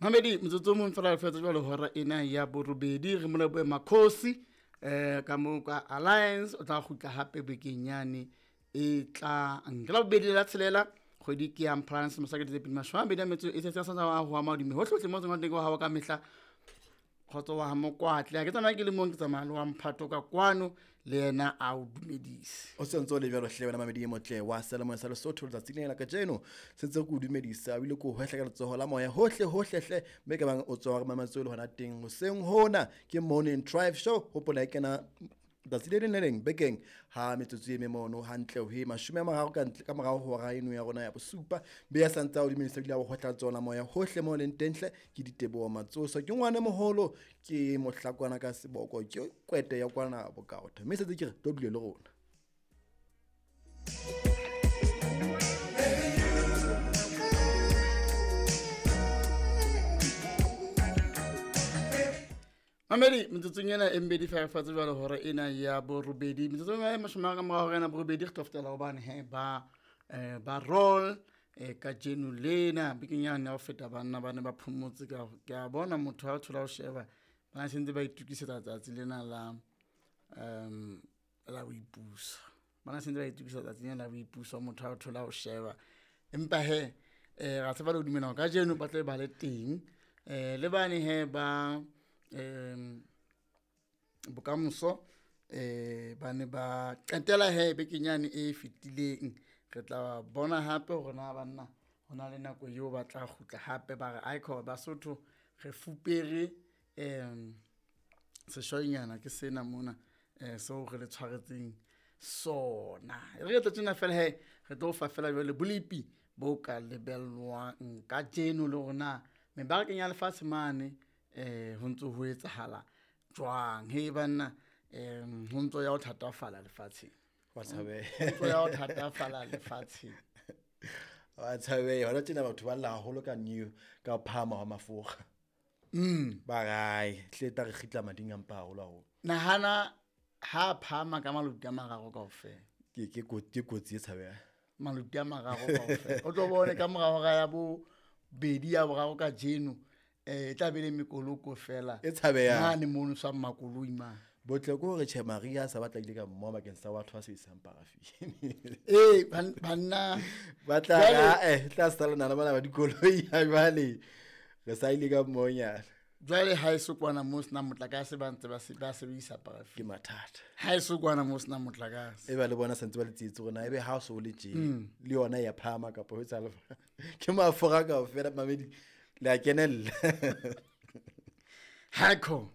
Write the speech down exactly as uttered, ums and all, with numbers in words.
Mamedi motsotso o mong fela re fetsa jwale hora ena ya borobedi re mo lebohe Makhosi eh ka moo ka Alliance o tla kgutla hape bekeng yane e tlang. Ke la bobedi la tshelela kgwedi ke ya Mphalane selemo sa kete tse pedi mashome a mabedi a metso e tsheletseng a sa ho ama hodimo hohle hohle mo tswang teng wa hao ka mehla. Kgotso wa ha Mokwatle ha ke tsamaya ke le mong ke tsamaya le wa Mphato ka kwano le yena a o dumedise. O sentse o le jwalo hle wena mamedi e motle wa Seyalemoya sa Lesotho letsatsing lena la kajeno sentse ke o dumedisa o ile ko hwehla ka letsoho la moya hohle hohle hle mme ka bang o tswa re mametse o le hona teng hoseng hona ke Morning Drive Show. Hopola e kena tsatsi le leng le leng bekeng ha metsotso e memono hantle ho e mashome a mararo ka ntle ka morao ho hora eno ya rona ya bosupa. Be ya santse a o dumedisa ebile a o hwehla letsoho la moya hohle mo leng teng hle. Ke Diteboho Matsoso, ke ngwana moholo, ke mohlakwana ka seboko, ke kwete ya kwana bokaotho mme setse ke re tlo dule le rona. Mamedi metsotsong ena e mmedi fa re fatse jwale hora ena ya borobedi metsotsong e mashome a ka morao hora ena borobedi re tlo fetela hobane he ba eh, ba roll eh, kajeno lena bekeng yane ya ho feta banna ba ne ba phomotse ka ke a bona motho ha o thola ho sheba ba sentse ba itokisetsa tsatsi lena la um la boipuso. Ba sentse ba itokisetsa tsatsi lena la boipuso motho ha o thola ho sheba empa he eh ra tseba le ho dumela hore kajeno ba tla ba le teng eh le bane he ba um bokamoso eh ba ne ba qetela he bekeng yane e fetileng. Re tla bona hape hore na banna ho na le nako eo ba tla kgutla hape ba re aiko Basotho re fupere um seshwainyana ke sena mona eh seo re le tshwaretseng sona. Re tla tjena fela he re tlo fa fela jwale bolepi bo ka lebellwang kajeno le rona mebarakeng ya lefatshe mane eh ho ntso ho etsahala jwang. He banna em ho ntso ya ho thatafala lefatsheng. Wa tshabeha. Ho ntso ya ho thatafala lefatsheng. Wa tshabeha. Hona tjena batho ba lla haholo ka new ka phahama hwa mafura. Mm. Ba re hle tla re kgitla mading a mpa haholo haholo. Nahana ha phahama ka maluti a mararo kaofela. Ke ke ke kotsi e tshabehang. Maluti a mararo kaofela. O tlo bone ka mora hora ya bobedi ya boraro kajeno eh tla be le mekoloko fela. E tshabehang. Mane mono sa makoloi mane. Botle ke hore tjhe Maria sa batla ile ka mmoa bakeng sa batho ba sebedisang paraffin. Eh banna ba tla ra eh tla sala nana bana ba dikoloi ha jwale re sa ile ka mmoanyana. Jwale ha e so kwana mo sena motlakase ba ntse ba se ba sebedisa paraffin. Ke mathata. Ha e so kwana mo sena motlakase. E ba le bona sentse ba le tsietsi rona ebe ha o so le tje le yona ya phahama kapa ho etsahala. Ke mafura kaofela mamedi le a kenella. Hako.